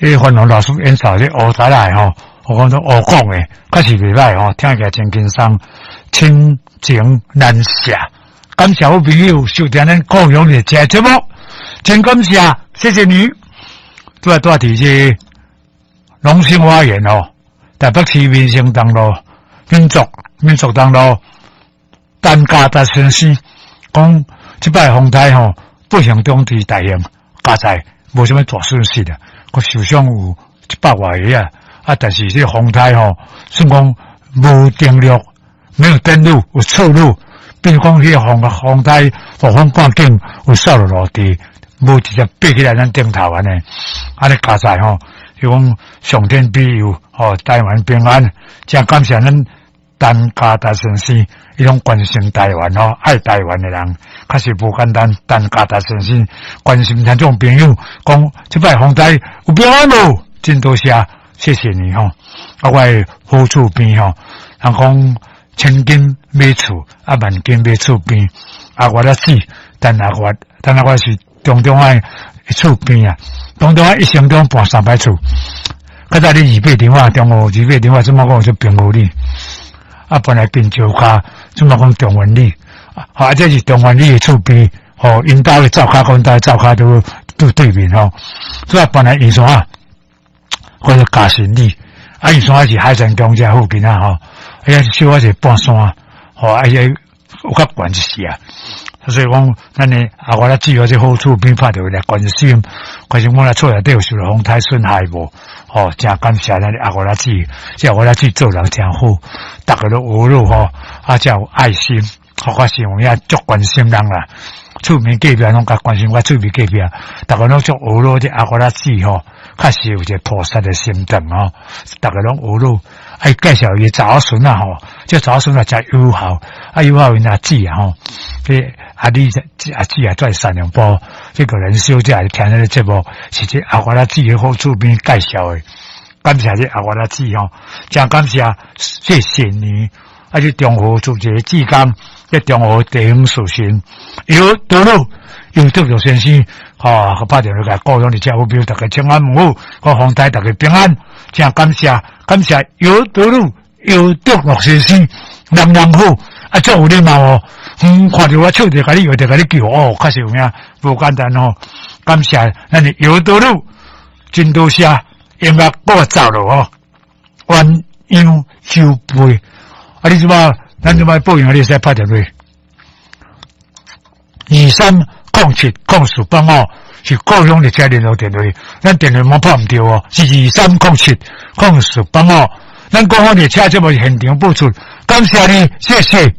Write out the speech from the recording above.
這個范龍老師演奏這烏台來吼，我講做烏講的，確實袂歹吼，聽起來真輕鬆，親情難捨。感謝好朋友收聽咱高雄的這節目，真感謝，謝謝你。拄仔拄仔佇這龍興花園吼，台北市民生東路民族東路陳家達先生講，這擺風颱吼，不幸中之大幸，加在無啥物大損失啊，閣受傷有100外個啊，啊，但是這個風颱吼，算講無登陸，沒有登陸，有側陸，變講彼個風颱暴風過境有掃落落地，無直接爬起來咱頂頭按呢，按呢加在吼，就講上天庇佑，吼，台灣平安，真感謝咱陳家達先生，伊攏關心台灣吼，愛台灣的人，確實無簡單。陳家達先生關心聽眾朋友，講這擺風災有平安無？真多謝，謝謝你吼。啊，我的好厝邊吼，人講千金買厝，啊萬金買厝邊。阿月仔姊，陳阿月，陳阿月是中中愛厝邊啊，中中愛一生中搬三擺厝。較早你二八電話，中午二八電話，怎麼講就平和里？啊，本來變石跤，怎麼講中原里？啊，這是中原里的厝邊，吼，𪜶兜的灶跤，阮兜的灶跤都都對面吼。所以本來圓山啊，或者嘉信里，啊，圓山是海山公這附近啊，吼，啊，小可是半山，吼，啊，有較懸一些啊。所以講，咱的阿我咧只有這好厝邊拍著來關心，關心阮來厝內底有受到風颱損害無？吼，真感謝咱的阿我仔姊，這阿我仔姊做人真好，逐个攏學咯吼，啊，真有愛心，我是有影足關心人啦。厝邊隔壁攏較關心我厝邊隔壁，逐个攏足學咯，這阿我仔姊吼，確實有一個菩薩的心腸吼，逐个攏學咯。啊，伊介紹伊查某孫仔吼，這查某孫仔誠友好，啊友好𪜶阿姊啊吼，這阿你阿姊啊在三重埔，這個人小姐聽這個節目，是這阿我仔姊的好厝邊介紹的，感謝這阿我仔姊吼，真感謝，謝謝你。啊，這中和做一個志工，這中和地方士紳尤德魯，尤德魯先生，吼，拍電話來高雄的遮好朋友，大家請安問好，我風颱大家平安，真感謝，感謝尤德魯，尤德魯先生，人人好，啊，足有禮貌哦，嗯，看著我笑著共你，搖著共你叫，哦，確實有影，無簡單哦，感謝咱的尤德魯，真多謝，音樂我走了哦，鴛鴦酒杯。啊！你這擺，咱這擺報應，你會使拍電話。23070485是高雄的車聯絡電話，咱電話嘛拍毋著哦，是23070485。咱國芳列車節目現場播出，感謝你，謝謝。